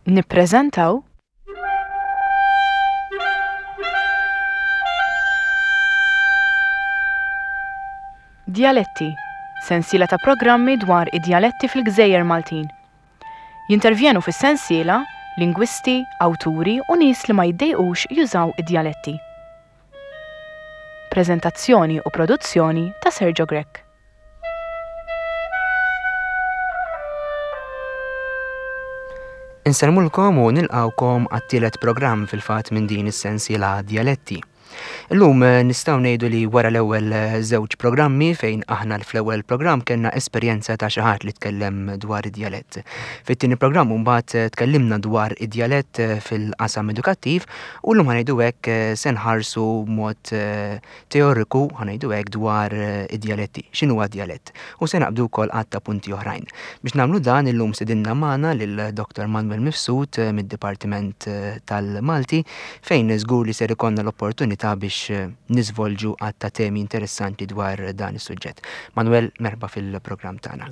Nippreżentaw Djaletti, sensiela ta' programmi dwar id-djaletti fil-gżejjer Maltin. Jintervjenu fis-sensiela lingwisti, awturi u nies li ma jiddejqux jużaw id-djaletti. Preżentazzjoni u produzzjoni ta' Sergio Grech. Insellmulkom u nilqgħukom għat-tielet programm fil-fatt minn din is-sensiela Djaletti. Illum eh, nistgħu ngħidu li wara l-ewwel eh, żewġ programmi fejn aħna fl-ewwel programm kellna esperjenza ta' xi ħadd li tkellem dwar id-djalett. Fit-tieni programm mbagħad eh, tkellimna dwar id-djalett fil-qasam edukattiv u llum ħanejdu hekk se nħarsu mod teoriku, ħa ngħidu hekk, dwar id-djaletti, x'inhuwa djalett, u se naqbdu wkoll għadd ta' punti oħrajn. Biex nagħmlu dan illum stedinna magħna lil Dr. Manuel Mifsud mid-Dipartiment tal-Malti fejn żgur li ser ikollna l-opportunità biex niżvolġu għadd ta' temi interessanti dwar dan is-suġġett. Manuel, merħba fil-programm tagħna.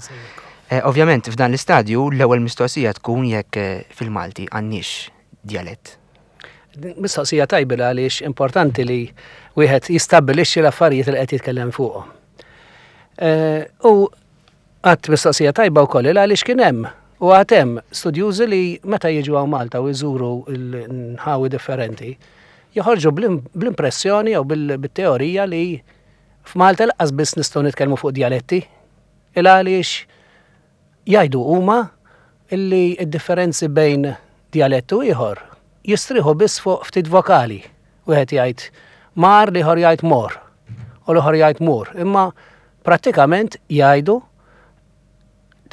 Ovvjament f'dan l-istadju l-ewwel mistoqsija tkun jekk fil-Malti għandniex djalett. Mistoqsija tajba għaliex importanti li wieħed jistabbilixxi l-affarijiet li qed jitkellem fuqhom. Eh, u għadt mistoqsija tajba wkoll għaliex kien hemm u għad hemm studjużi li meta jiġu hawn Malta u jżuru l-nħawi differenti, joħorġu bl-impressjoni jew bil-teorija li f'Malta laqas biss nistgħu nitkellmu fuq djaletti. Il għaliex Jgħidu huma li d-differenzi bejn djalett u ieħor jistrieħu biss fuq ftit vokali. Wieħed jgħid mar, l-ieħor jgħid mor, u l-ieħor jgħid mur. Imma prattikament jgħidu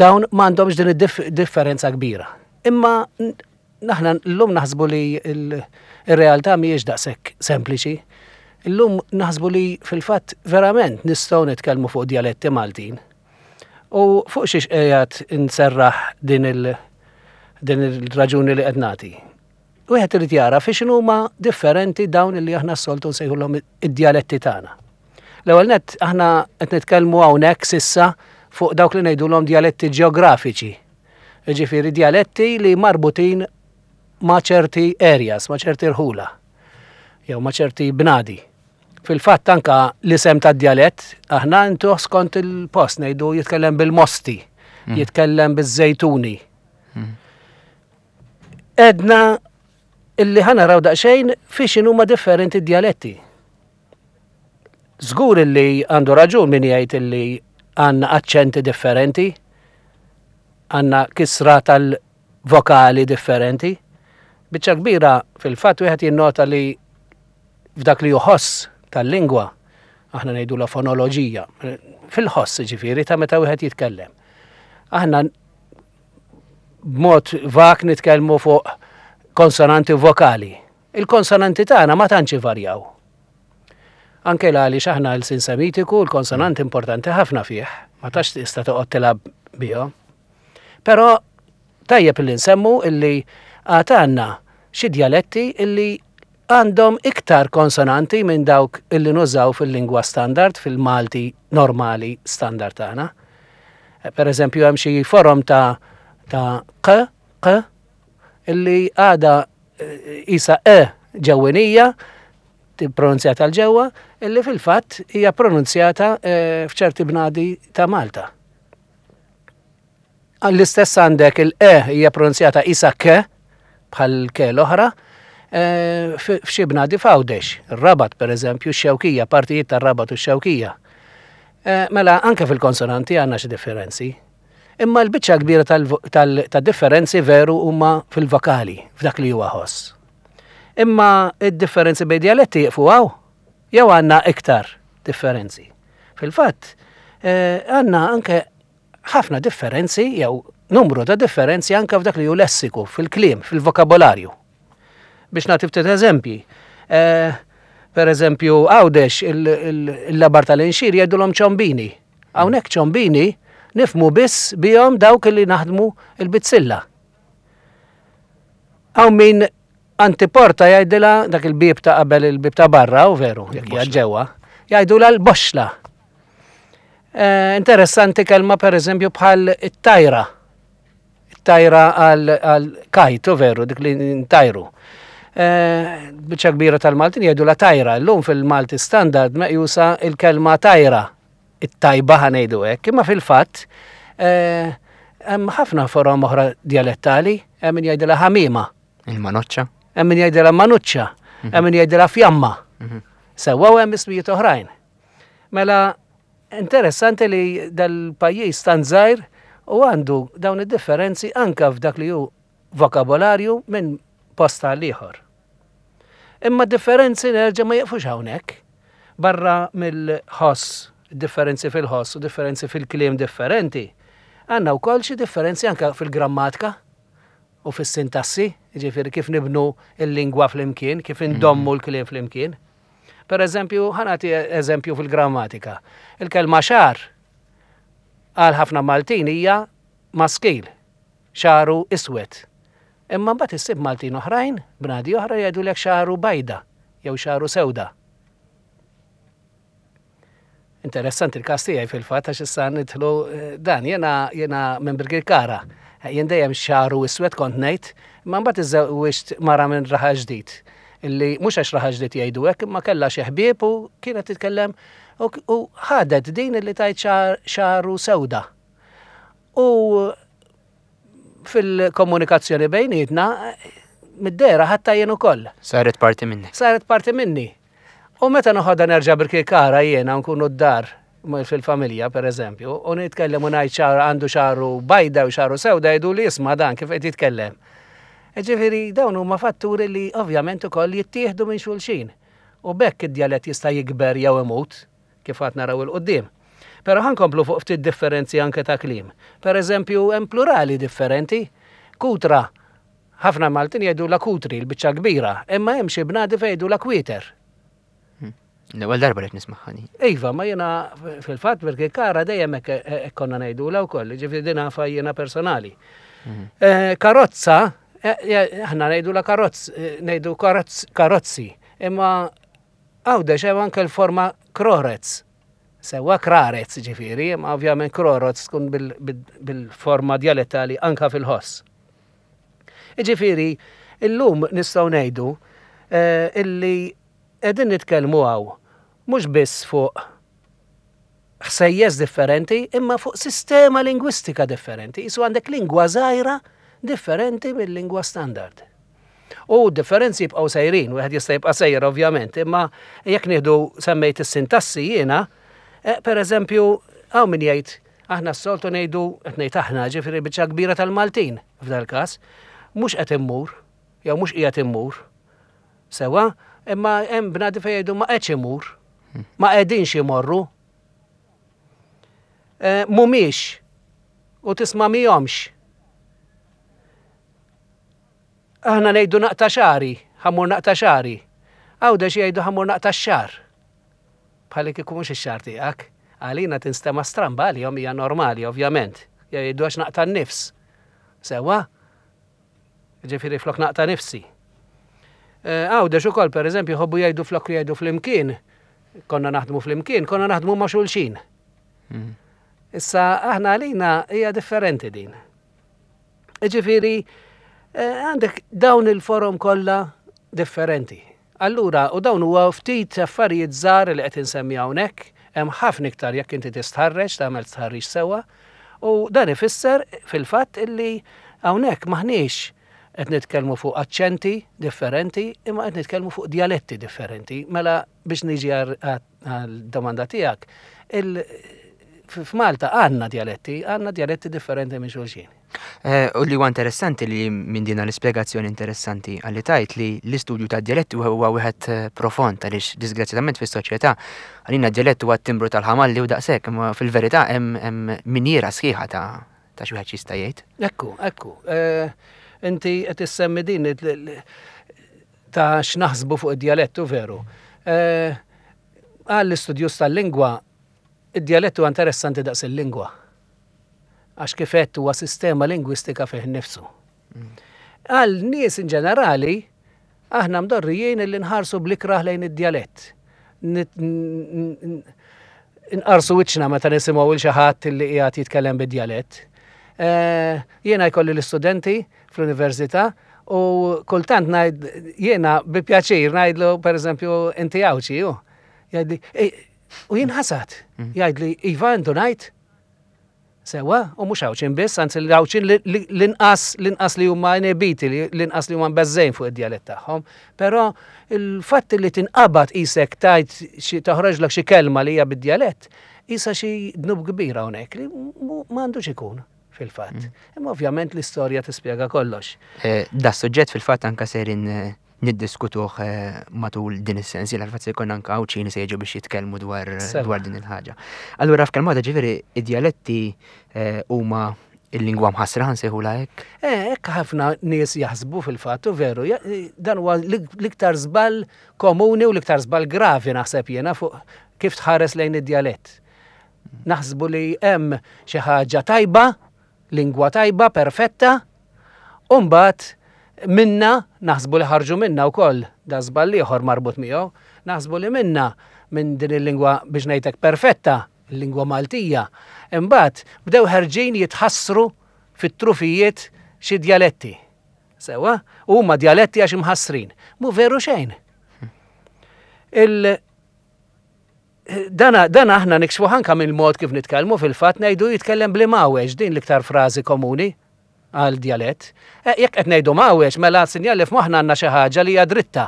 dawn m'għandhomx din id-differenza kbira. Imma Aħna llum naħsbu li r-realtà mhijiex daqshekk sempliċi. Illum naħsbu li fil-fatt verament nistgħu nitkellmu fuq djaletti Maltin. U fuq xiex qiegħed inserraħ din il din il-raġuni li qed nagħti. Wieħed irid jara fi x'inhuma differenti dawn li aħna s-soltu nsejħulhom id-djaletti tagħna. L-ewwel nett aħna qed nitkellmu hawnhekk sissa fuq dawk li ngħidulhom djaletti ġeografiċi. Jiġifieri djaletti li marbutin ma' ċerti areas, ma' ċerti rħula, jew ma' ċerti bnadi. Fil-fatt anka l-isem tad-djalett aħna ntuh skont il-post ngħidu jitkellem bil-Mosti, mm. jitkellem biż-Żejtuni. Mm. Edna illi ħanaraw daqsxejn fiex huma differenti d-djaletti. Żgur illi għandu raġun min jgħid illi għandna aċċenti differenti, għandna kisra tal-vokali differenti. Biċċa kbira fil-fatt wieħed jinnota li f'dak li ħoss tal-lingwa, aħna ngħidu la fonoloġija, fil-ħoss ġifieri ta' meta wieħed jitkellem. Aħna b'mod vak nitkellmu fuq konsonanti u vokali. Il-konsonanti tagħna ma tantx ivarjaw. Anke l għaliex aħna l-sin semitiku, l-konsonanti importanti ħafna fih, ma tax tista' toqgħod tilgħab bihom. Però tajjeb illi nsemmu illi għad għandna xi djaletti illi għandhom iktar konsonanti minn dawk illi nużaw fil-lingwa standard, fil-Malti normali standard tagħna. Per eżempju, hemm xi forom ta' ta' q, q, illi għada isa e ġewwinija, pronunzjata l ġewwa, illi fil-fatt hija pronunzjata eh, f'ċerti bnadi ta' Malta. L-istess għandek il-e hija pronunzjata isa k bħal ke l-oħra, eh, f'xi bnadi f'Għawdex, ir-Rabat pereżempju, x-Xewkija, partijiet tar-Rabat u x-Xewkija. Eh, mela anke fil-konsonanti għandna xi differenzi. Imma l-biċċa kbira tad-differenzi veru huma fil-vokali, f'dak li huwa ħoss. Imma id-differenzi bejn djaletti jieqfu hawn? Jew għandna iktar differenzi? Fil-fatt, eh, għandna anke ħafna differenzi jew numru ta' differenzi anke f'dak li hu lessiku, fil-kliem, fil-vokabolarju. Biex nagħti ftit eżempji. Eh, per eżempju, Għawdex il-labar tal-inxir jgħidulhom ċombini. Hawnhekk ċombini nifmu biss bihom dawk li naħdmu il-bizzilla. Hawn min antiporta jgħidilha dak il-bieb ta' qabel il-bieb ta' barra, u veru, jekk hija ġewwa, jgħidulha l-boxla. Eh, interessanti kelma per eżempju bħal it-tajra. It-tajra għal kajtu veru, dik li ntajru. Eh, biċċa kbira tal-Maltin jgħidu la tajra, llum fil-Malti standard meqjusa il-kelma tajra, it-tajba ħanejdu hekk, imma fil-fatt eh, hemm ħafna forom oħra dialettali, hemm min jgħidilha ħamima. Il-manoċċa. Hemm min jgħidilha manuċċa, mhm. hemm min jgħidilha fjamma. Mhm. Sewwa u hemm ismijiet oħrajn. Mela interessanti li dal-pajjiż tant żgħir u għandu dawn id-differenzi anka f'dak li hu vokabolarju minn post għal ieħor. Imma differenzi nerġa' ma jiqfux hawnhekk. Barra mill-ħoss, differenzi fil-ħoss u differenzi fil-kliem differenti, għandna wkoll xi differenzi anke fil-grammatika u fis-sintassi, jiġifieri kif nibnu l-lingwa flimkien, kif indommu l-kliem flimkien. Per eżempju, ħa nagħti eżempju fil-grammatika. Il-kelma xagħar għal ħafna Maltin hija maskil, xagħru iswed. Imma mbagħad issib Maltin oħrajn, bnadi oħra jgħidulek xagħru bajda jew xagħru sewda. Interessanti l-każ tiegħi fil-fatt għax issa nidħlu eh, dan jiena jiena minn Birkirkara. Eh, jien dejjem xagħru iswed kont ngħid, imma mbagħad iżżewwiġt mara minn Raħal Ġdid illi mhux għax Raħal Ġdid jgħidu hekk imma kellha xi ħbieb u kienet titkellem u ħadet din illi tgħid xagħru sewda. U fil-komunikazzjoni bejnietna mid-dehra ħatta jien ukoll. Saret parti minni. Saret parti minni. U meta noħodha nerġa' Birkirkara jiena nkunu d-dar fil-familja per eżempju, u nitkellem u ngħid xagħar għandu xagħru bajda u xagħru sewda jgħidu li isma' dan kif qed jitkellem. Ġifieri dawn huma fatturi li ovvjament ukoll jittieħdu minn xulxin. U b'hekk id-djalett jista' jikber jew imut, kif għad naraw 'il quddiem. Però ħa nkomplu fuq ftit differenzi anke ta' kliem. Per eżempju, hemm plurali differenti. Kutra Ħafna Maltin jgħidulha kutri, l-biċċa kbira, imma hemm xi bnadi fejn jgħidulha kwieter. Hmm. L-ewwel darba li nismagħha din. Iva, ma jiena fil-fatt Birkirkara dejjem hekk konna ngħidulha wkoll, ġifieri din nafa jiena personali. Hmm. Eh, karozza, eh, eh, aħna ngħidulha karozz, ngħidu karozzi, imma Għawdex hemm anke l-forma krorez. Sewwa krarez ġifieri, imma ovvjament kroroz tkun bil-forma djalettali anka fil-ħoss. Jiġifieri, illum nistgħu ngħidu eh, illi qegħdin nitkellmu hawn mhux biss fuq ħsejjes differenti imma fuq sistema lingwistika differenti. Isu għandek lingwa żgħira differenti mill-lingwa standard. U differenzi jibqgħu sejrin, wieħed jista' jibqa' sejjer ovvjament, imma jekk nieħdu semmejt is-sintassi jiena, eh, per eżempju, hawn min jgħid Aħna s-soltu ngħidu, qed ngħid aħna, ġifieri biċċa kbira tal-Maltin f'dal-każ, mhux qed immur, jew mhux qiegħed immur. Sewwa, imma hemm bnadi fejn jgħidu ma qedx imur, ma qegħdinx imorru. Eh, mhumiex u tisma' mihomx. Aħna ngħidu naqta' xagħri, ħammur naqta' xagħri. Għawdex jgħidu ħammur naqta' x-xagħar. Bħalli kieku mhux ix-xagħar tiegħek. Għalina tinstema' stramba, għalihom hija normali, ovvjament. Jgħidu għax naqta' n-nifs. Sewwa? Ġifieri flok naqta' nifsi. Eh, Għawdex ukoll, pereżempju, jħobbu jgħidu flok jgħidu flimkien, konna naħdmu flimkien, konna naħdmu ma' xulxin. Mm. Issa aħna għalina hija differenti din. Ġifieri eh, għandek dawn il-forom kollha differenti. Allura, u dawn huwa ftit affarijiet żgħar li qed insemmi hawnhekk, hemm ħafna iktar jekk inti tistħarreġ, tagħmel stħarriġ sewwa, u dan ifisser fil-fatt illi hawnhekk m'aħniex qed nitkellmu fuq aċċenti differenti, imma qed nitkellmu fuq djaletti differenti. Mela biex niġi għal-domanda tiegħek, f'Malta għandna djaletti, għandna djaletti differenti minn xulxin. Eh, u li huwa interessanti li minn din l-ispjegazzjoni interessanti għalli tajt li l-istudju ta' djaletti huwa wieħed eh, profond għaliex disgrazzjatament fis-soċjetà għalina djalett huwa t-timbru tal-ħamalli u daqshekk, imma fil-verità hemm minjiera sħiħa ta' ta' xi wieħed jista' jgħid. Ekku, ekku. Eh, inti qed issemmi din ta' x'naħsbu fuq id-djalettu veru. Eh, għall-istudjus tal-lingwa, id-djalett huwa interessanti daqs il-lingwa. Għax kif għedt huwa sistema lingwistika fih innifsu. Għal nies in ġenerali, aħna mdorrijin illi nħarsu bl-ikrah lejn id-djalett. Nqarsu wiċċna meta nisimgħu il xi ħadd illi qiegħed jitkellem bid-djalett. Eh, jiena jkolli l-istudenti fl-università u kultant ngħid jiena bi pjaċir ngħidlu pereżempju inti Għawdxi hu. Jgħidli, u jinħasad. Mm. Jgħidli, Iva intu ngħid. Sewa, u mhux Għawdxin biss, anzi l-Għawdxin l-inqas l-inqas li huma inebiti, l-inqas li huma mbeżżejn fuq id-djalett tagħhom. Però il-fatt li tinqabad qisek tajt xi toħroġlok xi kelma li hija bid-djalett, qisha xi dnub kbir hawnhekk li m'għandux ikun fil-fatt. Mm. Imma ovvjament l-istorja tispjega kollox. Eh, da suġġett fil-fatt anka serin eh, niddiskutuh eh, matul din is-sensiela, fil-fatt se jkun anke Għawdxin se jiġu biex jitkellmu dwar dwar din il-ħaġa. Allura f'kelma waħda ġifieri id-djaletti eh, huma il-lingwa mħassra nsejħula hekk? Eh, hekk ħafna nies jaħsbu fil-fatt u veru, dan huwa l-iktar żball komuni u l-iktar żball gravi naħseb jiena fuq kif tħares lejn id-djalett. Naħsbu li hemm xi ħaġa tajba lingwa tajba, perfetta, u mbagħad minna, naħsbu li ħarġu minna wkoll, da żball ieħor marbut miegħu, naħsbu li minna minn din il-lingwa biex ngħidlek perfetta, il-lingwa Maltija, imbagħad bdew ħerġin jitħassru fit-trufijiet xi djaletti. Sewwa? U huma djaletti għax imħassrin. Mhu veru xejn. Il Dana, dana aħna nikxfuh anka mill-mod kif nitkellmu fil-fatt ngħidu jitkellem bl-imgħawweġ, din l-iktar frażi komuni għal djalett. Eh, jekk qed ngħidu mgħawweġ, mela sinjal li f'moħħna għandna xi ħaġa li hija dritta.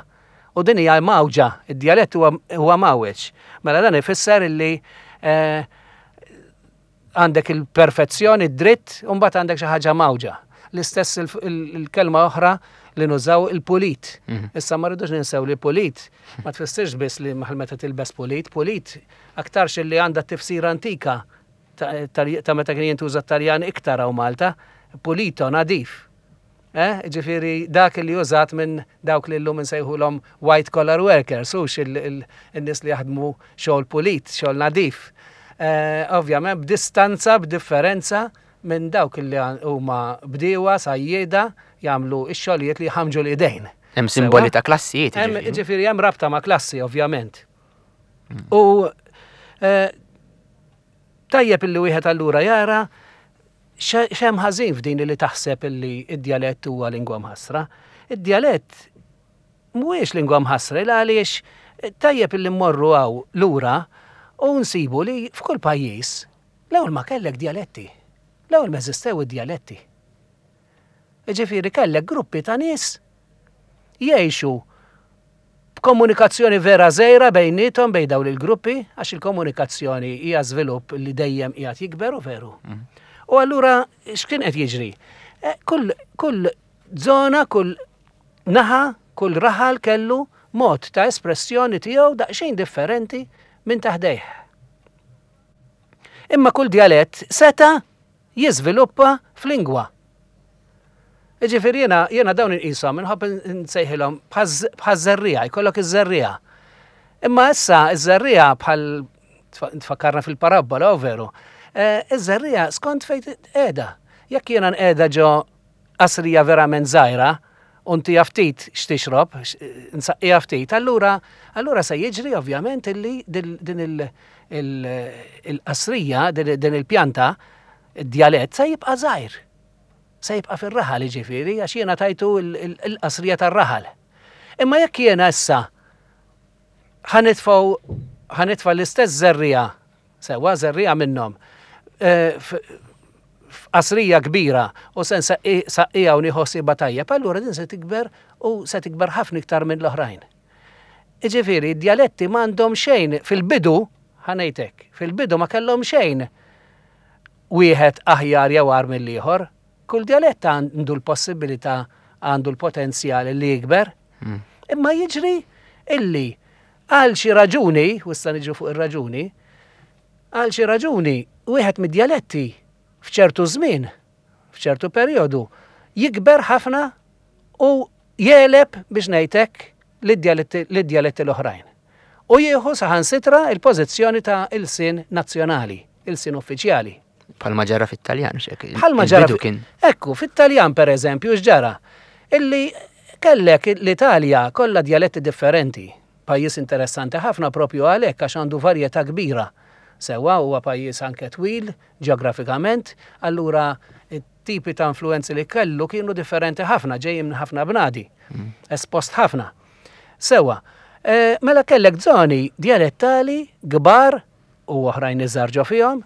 U din hija mgħawġa, id-djalett huwa mgħawweġ. Mela dan ifisser illi eh, Għandek il-perfezzjoni, id-dritt, u mbagħad għandek xi ħaġa mgħawġa. L-istess il-kelma oħra li nużaw il-pulit. Mhm. Issa ma rridux ninsew li pulit ma tfissirx biss li maħal meta tilbes pulit, pulit aktarx li għandha tifsira antika ta' meta kien jintuża t-Taljan iktar hawn Malta, pulito, nadif. Eh, ġifieri dak li użat minn dawk li llum insejħulhom white collar workers, hux in-nies li jaħdmu xogħol pulit, xogħol nadif. Eh, ovvjament b'distanza, b'differenza minn dawk li huma bdiewa, sajjieda, jagħmlu x-xogħlijiet li jħamġu l-idejn. Hemm simboli ta' klassijiet. Ġifieri hemm rabta ma' klassi, ovvjament. Mm. U eh, tajjeb illi wieħed allura jara X'hemm ħażin f'din li taħseb illi d-djalett huwa lingwa mħassra? Id-djalett mhuwiex lingwa mħassra il għaliex tajjeb illi mmorru hawn lura u nsibu li f'kull pajjiż l-ewwel ma kellek djaletti. L-ewwel ma eżistew id-djaletti. Jiġifieri kellek gruppi ta' nies jgħixu B'komunikazzjoni vera żgħira bejniethom bejn dawn il-gruppi, għax il-komunikazzjoni hija żvilupp li dejjem qiegħed jikber u veru. Mm. U allura x'kien qed jiġri? Eh, kull, kull zona, kull naħa, kull raħal kellu mod ta' espressjoni tiegħu daqsxejn differenti minn taħdejh. Imma kull djalett seta' jiżviluppa f'lingwa. Jiġifieri jiena jiena dawn inqishom inħobb nsejħilhom bħaż-żerriegħa, jkollok iż-żerriegħa. Imma issa iż-żerriegħa bħal tfakkarna fil-parabbola, u veru. Eh, iż-żerriegħa skont fejn qiegħda. Jekk jiena nqiegħda ġo qasrija verament żgħira, u ntiha ftit x'tixrob, nsaqqiha ftit, allura allura se jiġri ovvjament illi din il-qasrija, din il-pjanta, id-djalett se jibqa' żgħir. Se jibqa' fir-raħal jiġifieri għax jiena tajtu l-qasrija tar-raħal. Imma jekk jiena issa ħa nitfgħu ħa nitfa' l-istess żerriegħa Sewwa, żerriegħa minnhom f'qasrija kbira u se nsaqqiha u nieħu ħsiebha tajjeb, allura din se tikber u se tikber ħafna iktar minn l-oħrajn. Jiġifieri, d-djaletti m'għandhom xejn fil-bidu, ħa ngħid hekk, fil-bidu ma kellhom xejn wieħed aħjar jew agħar mill-ieħor. Kull djalett għandu l-possibilità, għandu l-potenzjal li jikber. Hmm. Imma jiġri illi Għal xi raġuni, u issa niġu fuq ir-raġuni, għal xi raġuni wieħed mid-djaletti f'ċertu żmien, f'ċertu perjodu, jikber ħafna u jegħleb biex ngħid hekk lid-djaletti l-oħrajn. U jieħu saħansitra l-pożizzjoni ta' ilsien nazzjonali, ilsien uffiċjali. Bħalma ġara fit-Taljan, xek. Bħalma ġara kien. Ekku, fit-Taljan per eżempju, x'ġara? Illi kellek l-Italja kollha djaletti differenti. Pajjiż interessanti ħafna propju għalhekk għax għandu varjetà kbira. Sewwa huwa pajjiż anke twil ġeografikament, allura t-tipi ta' influwenzi li kellu kienu differenti ħafna, ġejjin minn ħafna bnadi, espost ħafna. Sewwa, eh, mela kellek żoni djalettali kbar u oħrajn iżgħar ġo fihom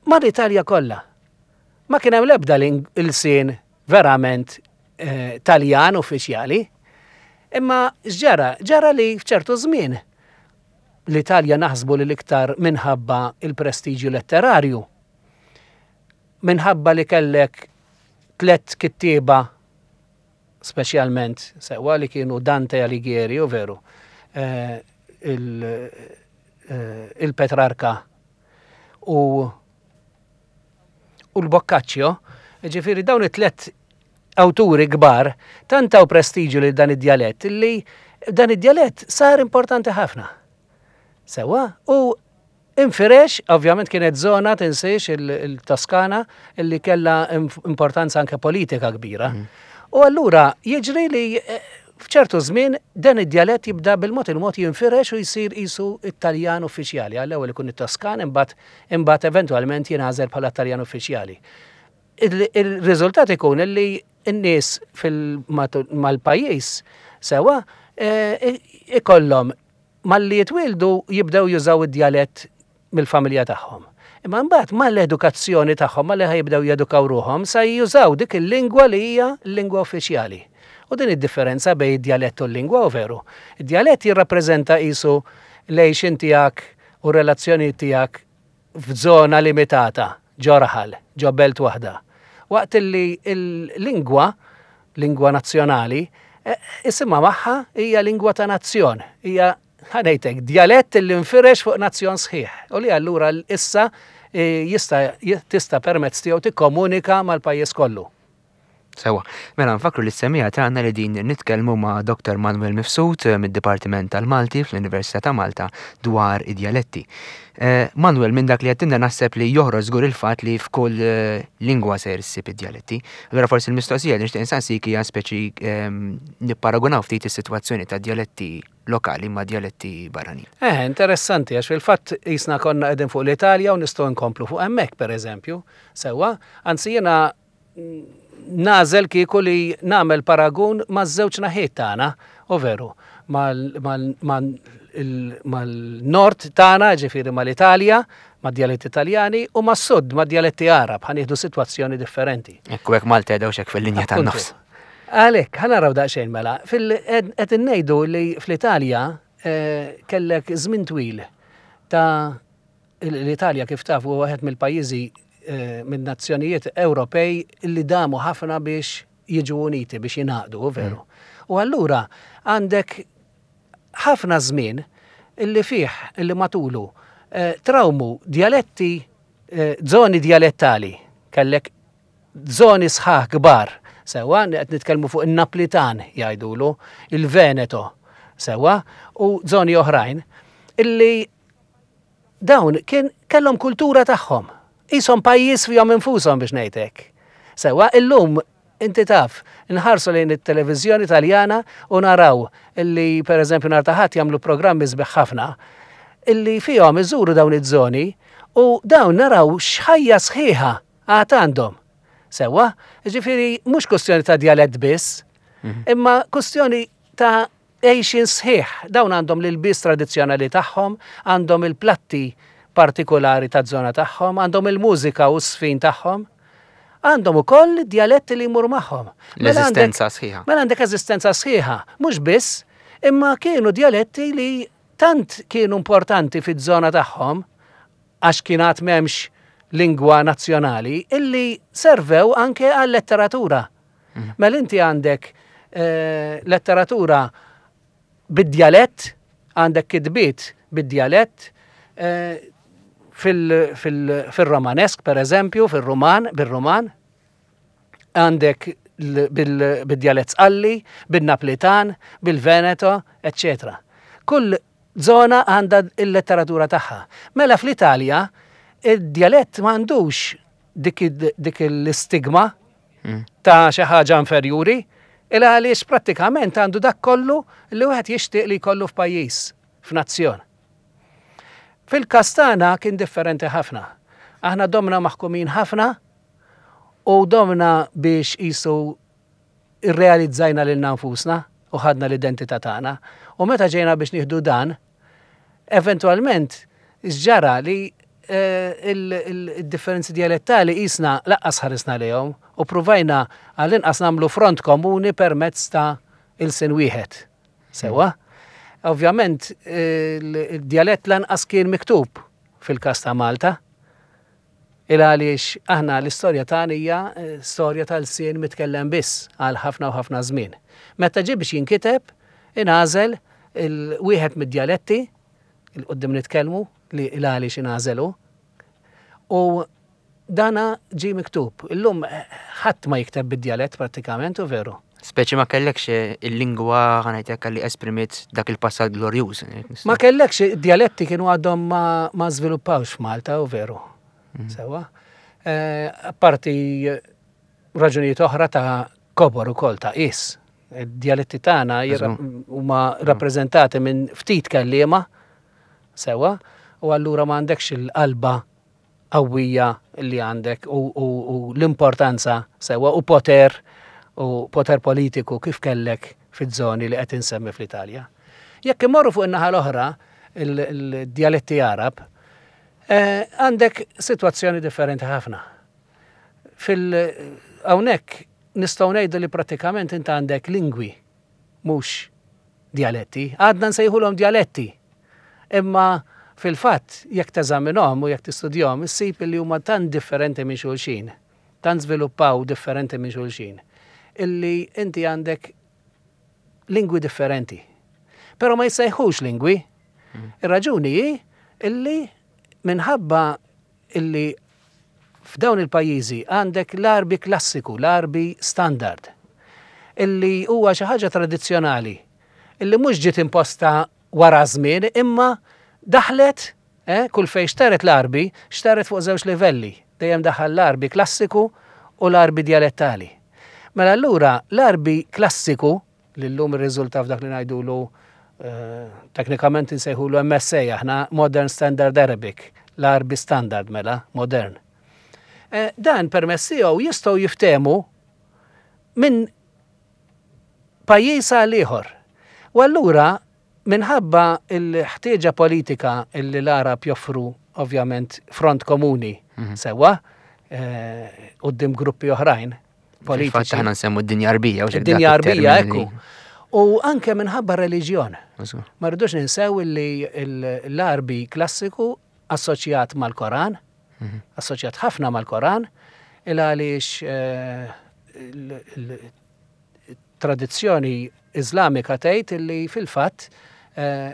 mal-Italja kollha. Ma kien hemm l-ebda ilsien verament eh, Taljan uffiċjali. Imma x'ġara? Ġara li f'ċertu żmien l-Italja naħsbu li l-iktar minħabba il-prestiġju letterarju, minħabba li kellek tlett kittieba speċjalment sewwa li kienu Dante Alighieri u veru eh, eh, il-Petrarka u u l-Boccaccio, ġifieri dawn it-tlet awturi kbar tant taw prestiġju lil dan id-djalett li dan id-djalett sar importanti ħafna. Sewwa, u infirex, ovvjament kienet zona tinsiex il-Toskana illi kella importanza anke politika kbira. Mm. U allura jiġri li eh, f'ċertu żmien dan id-djalett jibda bil-mod il-mod jinfirex u jsir qisu it-Taljan uffiċjali. Għall-ewwel ikun it-Toskan imbagħad imbagħad eventwalment jingħażel bħala Taljan uffiċjali. Il-riżultat ikun li n-nies mal-pajjiż sewa eh, ikollhom malli jitwieldu jibdew jużaw id-djalett mill-familja tagħhom. Imma mbagħad mal-edukazzjoni tagħhom, malli jibdew jedukaw ruħhom, sa jużaw dik il-lingwa li hija l-lingwa uffiċjali. U din id-differenza bejn id-djalett u l-lingwa u veru. Id-djalett jirrappreżenta qisu l-għixien tiegħek u r-relazzjonijiet tiegħek f'żona limitata, ġo raħal, ġo belt waħda. Waqt li l-lingwa, lingwa nazzjonali, eh, isimha magħha hija lingwa ta' nazzjon, hija ħa ngħidlek, djalett li nfirex fuq nazzjon sħiħ u li allura issa eh, jista' tista' permezz tiegħu tikkomunika mal-pajjiż kollu. Sewa, mela nfakru li s-semija tagħna li din nitkellmu ma' Dr. Manuel Mifsud eh, mid-Dipartiment tal-Malti fl-Università ta' Malta dwar id-djaletti. Eh, Manuel, minn dak li għattinna naħseb li joħroġ żgur il-fatt li f'kull eh, lingwa ser issib id-djaletti. Allura forsi l-mistoqsija li nixtieq insaqsik hija speċi ehm, nipparagunaw ftit is-sitwazzjoni ta' djaletti lokali ma' djaletti barranin. Eh, interessanti, għax fil-fatt jisna konna qegħdin fuq l-Italja u nistgħu nkomplu fuq hemmhekk pereżempju. Sewwa, anzi jiena nagħżel kieku li nagħmel paragun maż-żewġ naħiet tagħna, u veru, mal-nord tagħna, ġifieri mal-Italja, mad-djaletti Taljani, u mas-sud, mad-djaletti Għarab, ħa nieħdu sitwazzjoni differenti. Ekku hekk Malta qiegħda hekk fil-linja tan-nofs. Għalhekk, ħa naraw daqsxejn mela. Qed ngħidu li fl-Italja eh, kellek żmien twil ta' L-Italja kif taf huwa wieħed mill-pajjiżi eh, minn nazzjonijiet Ewropej li damu ħafna biex jiġu uniti biex jingħaqdu, veru. Mm. U allura għandek ħafna żmien illi fih illi matulu eh, trawmu djaletti, eh, zoni djalettali, kellek zoni sħaħ kbar, sewa, qed nitkellmu fuq in-Naplitan jgħidulu, il-Veneto, sewa, u zoni oħrajn, illi Dawn kien kellhom kultura tagħhom. Qishom pajjiż fihom infushom biex ngħid hekk. Sewwa, illum inti taf, nħarsu lejn it-televiżjoni Taljana u naraw illi pereżempju nhar ta' Ħadd jagħmlu programmi sbieħ ħafna illi fihom iżuru dawn iż-żoni u dawn naraw x'ħajja sħiħa għad għandhom. Sewwa, jiġifieri mhux kwestjoni ta' djalett biss, mhm. imma kwestjoni ta' Għejxien sħiħ. Dawn għandhom l-ilbies tradizzjonali tagħhom, għandhom il-platti partikulari taż-żona tagħhom, għandhom il-mużika u ż-żfin tagħhom. Għandhom ukoll id-djaletti li jmur magħhom. Mela L-eżistenza sħiħa. Mela għandek eżistenza sħiħa, mhux biss, imma kienu djaletti li tant kienu importanti fiż-żona tagħhom, għax kien għad m'hemmx lingwa nazzjonali, illi servew anke għal-letteratura. Mhm. Mela inti għandek eh, letteratura bid-djalett, għandek kitbiet bid-djalett, eh, fil-Romanesk, per eżempju, fil-Roman, bil-Roman, għandek bil-djalett Sqalli, bil-Naplitan, bil-Veneto, etc. Kull zona għandha il-letteratura tagħha. Mela fl-Italja, id-djalett m'għandux dik l-istigma mm. ta' xi ħaġa inferjuri, il għaliex prattikament għandu dak kollu li wieħed jixtieq li jkollu f'pajjiż, f'nazzjon. Fil-każ tagħna kien differenti ħafna. Aħna domna maħkumin ħafna u domna biex qisu irrealizzajna lilna nfusna u ħadna l-identità tagħna. U meta ġejna biex nieħdu dan, eventwalment x'ġara li eh, il-differenzi dialettali qisna laqqas ħarisna lejhom u pruvajna għall-inqas nagħmlu front komuni permezz ta' ilsien wieħed. Sewa? Ovvjament, il-djalett lanqas kien miktub fil-każ ta' Malta. Il għaliex aħna l-istorja tagħna hija eh, storja tal-sien mitkellem biss għal ħafna u ħafna żmien. Meta ġie biex jinkiteb, ingħażel il-wieħed mid-djaletti, il-qudiem nitkellmu li il għaliex ingħażelu, u Dana ġie miktub. Illum ħadd ma jikteb bid-djalett prattikament, u veru. Speċi ma kellekx il-lingwa ħanajtek li esprimiet dak il-passat glorjuż. Ma kellekx id-djaletti kienu għadhom ma żviluppawx f'Malta, u veru. Mm. Sewa. Eh, apparti raġunijiet oħra ta' kobor ukoll ta' is. Id-djaletti tagħna huma mm. rappreżentati minn ftit kelliema sewa, u allura ma għandekx il-qalba qawwija li għandek u l-importanza sewwa u poter u poter politiku kif kellek fiż-żoni li qed insemmi fl-Italja. Jekk immorru fuq in-naħa l-oħra, il-djaletti Għarab, eh, għandek sitwazzjoni differenti ħafna. Fil hawnhekk nistgħu ngħidu li prattikament int għandek lingwi mhux djaletti. Għadna nsejħulhom djaletti. Imma fil-fatt, jekk teżaminhom u jekk tistudjahom, issib li huma tant differenti minn xulxin, tant żviluppaw differenti minn xulxin, illi inti għandek lingwi differenti. Però ma jissejħux lingwi. Mm. Ir-raġuni hi illi minħabba illi f'dawn il-pajjiżi għandek l-Għarbi klassiku, l-Għarbi standard, illi huwa xi ħaġa tradizzjonali, illi mhux ġiet imposta wara żmien imma daħlet eh, kull fejn xteret l-Għarbi, xteret fuq żewġ livelli, dejjem daħal l-Għarbi klassiku u l-Għarbi djalettali. Mela allura l-Għarbi klassiku li llum irriżulta f'dak li ngħidulu eh, teknikament insejħulu MSA aħna Modern Standard Arabic, l-Għarbi Standard mela, modern. Eh, dan permezz tiegħu jistgħu jiftehmu minn pajjiż għal ieħor. U allura minħabba l-ħtieġa politika li l-Għarab joffru ovvjament front komuni mhm. sewwa eh, quddiem gruppi oħrajn, politiċi. Fatt aħna nsemmu d-dinja arbija. Id-dinja arbija, ekku. U anke minħabba reliġjon. Ma rridux ninsew li l-Arbi klassiku assoċjat mal-Koran, mhm. assoċjat ħafna mal-Koran, il għaliex eh, il-tradizzjoni Iżlamika tgħid li fil-fatt eh,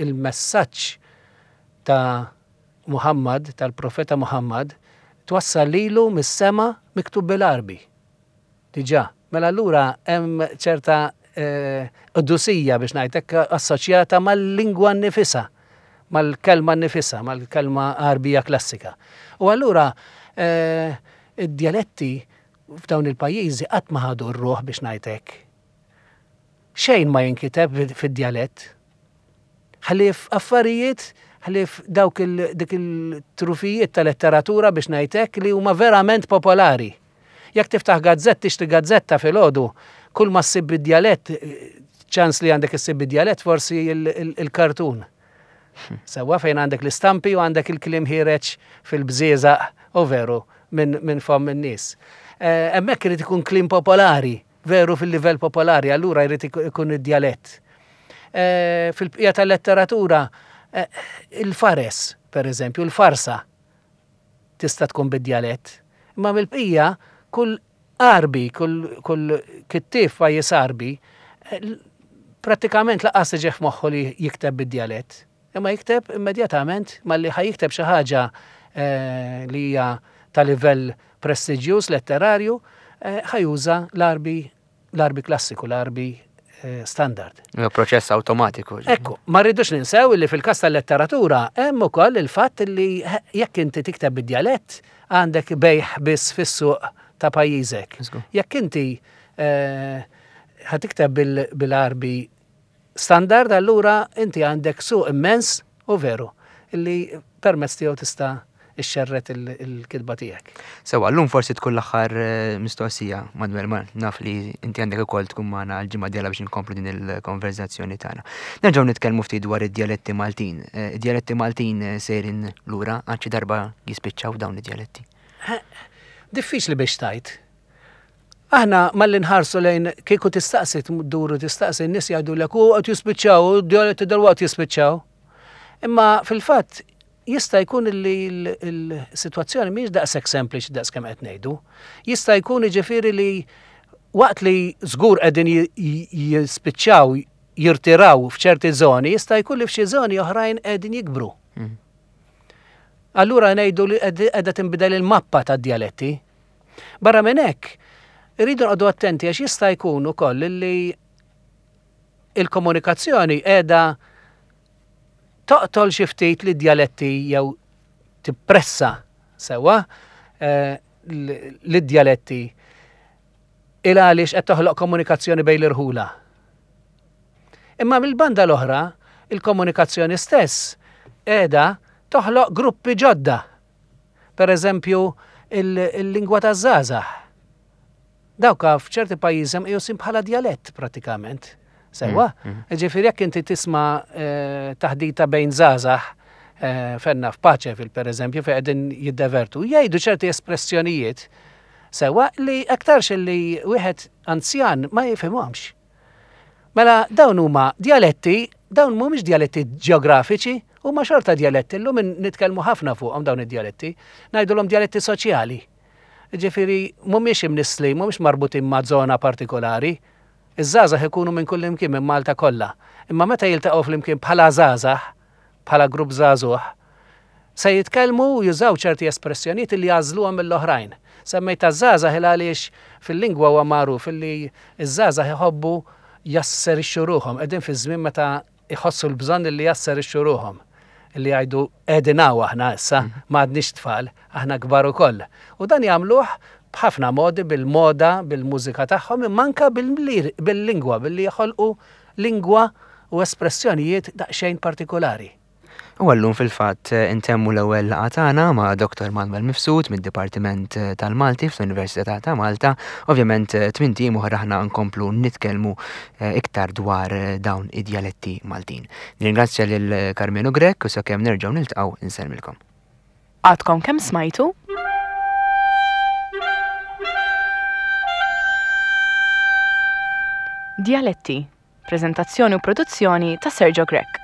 il-messaġġ ta' Muħammad, tal-Profeta Muħammad, twassal lilu mis-sema miktub bil-Għarbi. Diġà. Mela allura hemm ċerta qdusija biex ngħid hekk assoċjata mal-lingwa nnifisha, mal-kelma nnifisha, mal-kelma Għarbija klassika. U allura id-djaletti f'dawn il-pajjiżi qatt ma ħadu r-ruħ biex ngħid hekk. Xejn ma jinkiteb fid-djalett. Ħlief affarijiet, ħlief dawk dik il-trufijiet ta' letteratura biex ngħid hekk li huma verament popolari. Jekk tiftaħ gazzett, tixtri gazzetta filgħodu, kull ma ssib bid-djalett, ċans li għandek issib bid-djalett forsi il-kartun. Sewwa fejn għandek l-istampi u għandek il-kliem ħiereġ fil-bżieżaq u veru minn fomm in-nies. Eh, hemmhekk irid ikun kliem popolari veru fil-livell popolari, allura jrid ikun id-djalett. Eh, fil-bqija tal-letteratura, eh, il-fares, per eżempju, il-farsa tista' tkun bid-djalett. Imma mill-bqija, kull Għarbi, kull kittieb pajjiż Għarbi, eh, prattikament laqqas tiġih f'moħħu li jikteb bid-djalett. Imma jikteb immedjatament malli ħa jikteb xi ħaġa eh, li hija ta' livell prestiġjuż letterarju, eh, ħa juża l-Għarbi l-Għarbi klassiku, l-Għarbi eh, standard. Proċess awtomatiku. Ekku, ma rridux ninsew li fil-każ tal-letteratura hemm ukoll il-fatt li jekk inti tikteb bid-djalett għandek bejħ biss fis-suq ta' pajjiżek. Jekk inti ħa tikteb bil-Għarbi standard allura inti għandek suq immens u veru. li permezz tiegħu tista' ixxerred il-kitba tiegħek. Sewa, llum forsi tkun l-aħħar eh, mistoqsija, Manuel, ma naf li inti għandek ukoll tkun magħna l-ġimgħa dieħla biex inkomplu din il-konverzazzjoni tagħna. Nerġgħu nitkellmu ftit dwar id-djaletti Maltin. Eh, id-djaletti Maltin eh, sejrin lura għal xi darba jispiċċaw dawn id-djaletti. Diffiċli biex tajt. Aħna malli nħarsu lejn kieku tistaqsi duru tistaqsi n-nies jgħidulek u qed jispiċċaw, u d-djaletti dalwaqt jispiċċaw. Imma fil-fatt jista' jkun li l-sitwazzjoni mhijiex daqshekk sempliċi daqs kemm qed ngħidu. Jista' jkun jiġifieri li waqt li żgur qegħdin jispiċċaw jirtiraw f'ċerti żoni, jista' jkun li f'xi żoni oħrajn qegħdin jikbru. Mm. Allura ngħidu li qiegħda tinbidel il-mappa tad-djaletti. Barra minn hekk, irridu noqogħdu attenti għax jista' jkun ukoll li il-komunikazzjoni qiegħda toqtol xi ftit li djaletti jew tippressa sewwa eh, li djaletti il għaliex qed toħloq komunikazzjoni bejn l-irħula. Imma mill-banda l-oħra, il-komunikazzjoni stess qiegħda toħloq gruppi ġodda Per eżempju, il-lingwa taż-żgħażagħ. Dawk f'ċerti pajjiżi mqjusin bħala djalett prattikament. Sewwa? Mm, mm. Ġifieri jekk inti tisma' eh, taħdita bejn żgħażagħ eh, fenna f'Paċevil per eżempju fejn qegħdin jiddevertu, jgħidu ċerti espressjonijiet sewwa li aktarx li wieħed anzjan ma jifhimhomx. Mela dawn huma djaletti, dawn mhumiex djaletti ġeografiċi, huma xorta djaletti, llum nitkellmu ħafna fuqhom dawn id-djaletti, ngħidulhom djaletti soċjali. Ġifieri mhumiex imnissli, mhumiex marbutin ma' żona partikolari. Iż-żgħażagħ ikunu minn kullimkien minn Malta kollha. Imma meta jiltaqgħu flimkien bħala żgħażagħ, bħala grupp żagħżugħ, se jitkellmu u jużaw ċerti espressjonijiet li jagħżluhom mill-oħrajn. Semmejt taż-żgħażagħ il għaliex fil-lingwa huwa magħruf illi ż-żgħażagħ iħobbu jasserixxu ruħhom, qegħdin fi żmien meta jħossu l-bżonn illi jasserixxu ruħhom, illi jgħidu qegħdin hawn aħna issa, mhm. ma għadniex tfal, aħna kbar ukoll. U dan jagħmluh b'ħafna modi bil-moda, bil-mużika tagħhom, imma anke bil-lingwa, billi joħolqu lingwa u espressjonijiet daqsxejn partikulari. U għallum fil-fatt intemmu l-ewwel laqgħa tagħna ma' Dr. Manuel Mifsud mid-Dipartiment tal-Malti fl-Università ta' Malta. Ovvjament tmint ijiem oħra aħna nkomplu nitkellmu eh, iktar dwar dawn id-djaletti Maltin. Nirringrazzja lil Karmenu Grech u sakemm nerġgħu niltaqgħu insellmilkom. Għadkom kemm smajtu? Djaletti, preżentazzjoni u produzzjoni ta' Sergio Grech.